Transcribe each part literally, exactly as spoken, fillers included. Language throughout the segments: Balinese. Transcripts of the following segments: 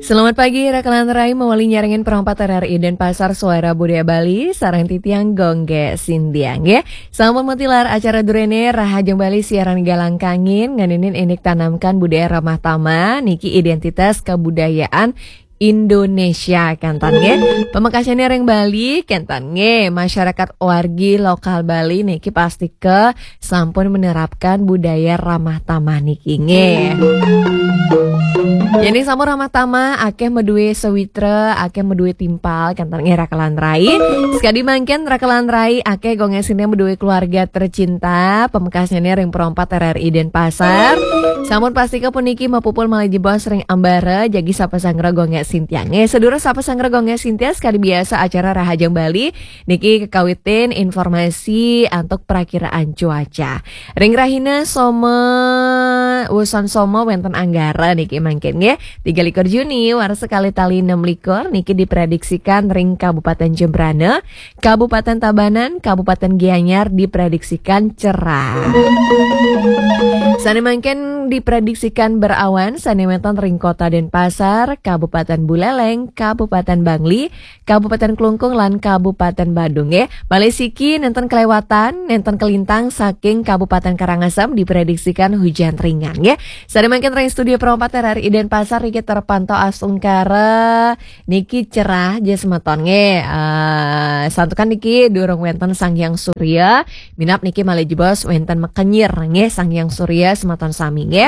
Selamat pagi, Rakelan Rai, mawali nyarengin perompat R R I Denpasar, Suara Budaya Bali, sareng titiang Gung Gé Sintiang, nggih. Sampun matilar acara duréné Rahajeng Bali siaran Galang Kangin, ngeninin indik tanamkan budaya ramah tamah, niki identitas kebudayaan Indonesia, kénten nggih. Pamekasné ring Bali, kénten nggih, masyarakat wargi lokal Bali niki pastika sampun menerapkan budaya ramah tamah niki nggih. Yén sampun ramah tamah, akéh madué sawitra, akéh madué timpal, kénten nggih Rakelan Rai. Sakadi mangkin Rakelan Rai akéh Gung Gé Sintiang madué keluarga tercinta, pamekasné ring perompat R R I Denpasar. Sampun pastika puniki mapupul malih jebos ring ambara, jagi sapa sanggra Gung Gé Sintiang. Nggih, sedulur sapa sanggra Gung Gé Sintiang, sakadi biasa acara Rahajeng Bali niki kekawitin informasi antuk prakiraan cuaca. Ring rahina Soma, wusan Soma wénten Anggara niki mangkin nggih, tiga likur Juni, warsa kalih tali enam likur niki diprediksikan ring Kabupaten Jembrana, Kabupaten Tabanan, Kabupaten Gianyar diprediksikan cerah. Sané mangkin diprediksikan berawan, sané wénten ring Kota Denpasar, Kabupaten Buleleng, Kabupaten Bangli, Kabupaten Klungkung lan Kabupaten Badung nggih. Malih siki nénten kelewatan, nénten kelintang saking Kabupaten Karangasem diprediksikan hujan ringan nggih. Sané mangkin ring studio perompat R R I Denpasar niki terpantau astungkara niki cerah ja semeton nggih. Eh, santukan niki durung wénten Sang Hyang Surya, minab niki malih jebos wénten makenyir nggih Sang Hyang Surya semeton sami nggih.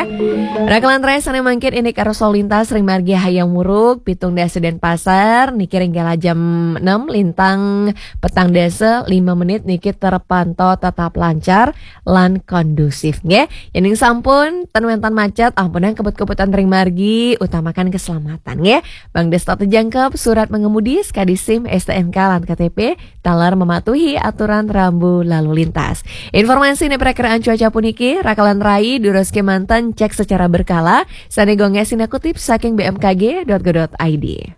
Rakelan Rai sané mangkin indik arus lalu lintas ring margi Hayam Wuruk, pitung dasa Denpasar, niki ring kala jam enam lintang petang dasa lima menit niki terpantau tetap lancar lan kondusif nggih. Yén sampun ten wénten macet, ampunang kebut-kebutan ring margi, utamakan keselamatan nggih. Mangda setata jangkep surat mengemudi, sakadi SIM, STNK lan KTP, taler mematuhi aturan rambu lalu lintas. Informasi niki prakiraan cuaca puniki, Rakelan Rai durus kémanten cek secara berkala, sané Gung Gé Sintiang kutip saking B M K G dot go dot I D.